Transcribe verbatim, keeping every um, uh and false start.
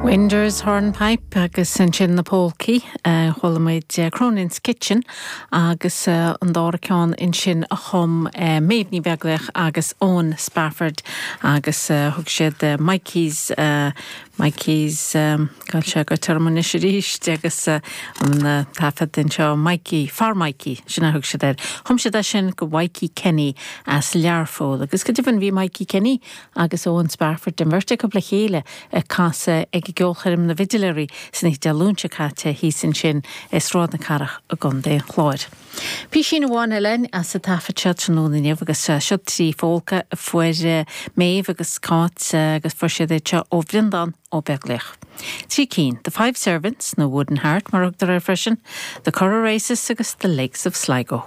Winder's Hornpipe agus ansin na polcaí chuala muid Cronin's Kitchen agus an dara ceann ansin a chum Méabh Ní Bheaglaoich agus Owen Spafford agus thug siad Mikey's Mikey's Gabh sé go termanis arís agus an taifead anseo Mikey Far Mikey sin a thug siad air. Chum siad é sin go Mikey Kenny as Learpholl agus go deimhin bhí Mikey Kenny agus Owen Spafford den bheirt acu le chéile ag casadh ag gceolchoirm na bhFidléirí san oíche Dé Luain seo caite thíos ansin i Sráid na Cathrach i gContae an Chláir. Písín amháin eile as an taifead seo tráthnóna inniu agus seo trí phólca a fuair Méabh agus Cáit agus fuair siad é seo ó Bhreandán Ó Beaglaoich. Trí cinn, The Five Servants nó Wooden Heart mar thugtar air freisin, The Curragh Races agus The Lakes of Sligo.